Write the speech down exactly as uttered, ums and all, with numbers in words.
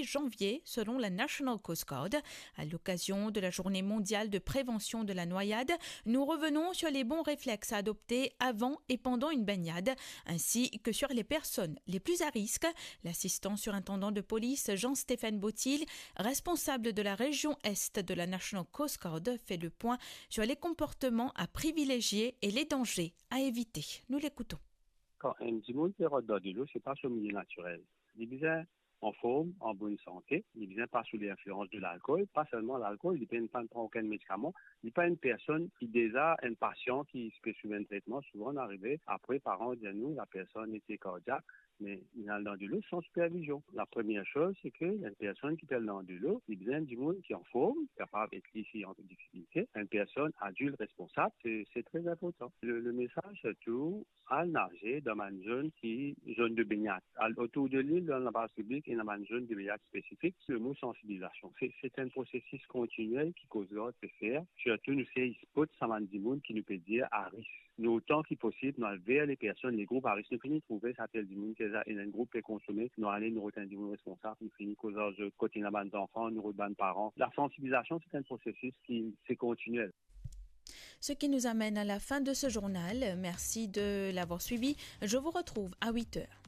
janvier, selon la National Coast Guard. À l'occasion de la journée mondiale de prévention de la noyade, nous revenons sur les bons réflexes à adopter avant et pendant une baignade, ainsi que sur les personnes les plus à risque. L'assistant surintendant de police Jean-Stéphane Bottil, responsable de la région Est de la National Coast Guard, fait le point sur les comportements à privilégier et les dangers à éviter. Nous l'écoutons. Kan enn dimoun pe rant dan dilo, se pa so milie natirel. Li bizin anform, an bonn sante, li bizin pa sou linflians de lalkol, pa selman lalkol, li pena pran okenn medikaman, li pa enn personn ki deza enn pasian ki pe swiv enn tretman, souvan arive apre paran dir nou la personn ete kardiak, me li al dan dilo san sipervizion. La premie soz, se ke enn personn ki pe al dan dilo, li bizin enn dimoun ki anform, kapav et li si an difikilte, enn personn adilt responsab, se, se tre inportan. Le, le mesaz, sirtou, al naze dan bann zone ki, zone de baignade. Al otour de lil, dan laplaz piblik, ena bann zone de baignade spesifik. Le mo sansibilizasion, se, se enn prosesis kontiniel ki Coast Guard pe fer. Sirtou, nou sey spot sa bann dimoun ki nou pe dir a risk. Nou, otan ki posib, nou al ver le personn, le group a risk. Nou fini trouve sa tel dimoun ki deza ena enn group pe konsome, nou ale, nou rod enn dimoun responsab, nou fini koz ar zot, kot ena bann zanfan, nou rod bann paran. La sansibilizasion, se enn prosesis ki, se kontiniel. Ce qui nous amène à la fin de ce journal. Merci de l'avoir suivi. Je vous retrouve à huit heures.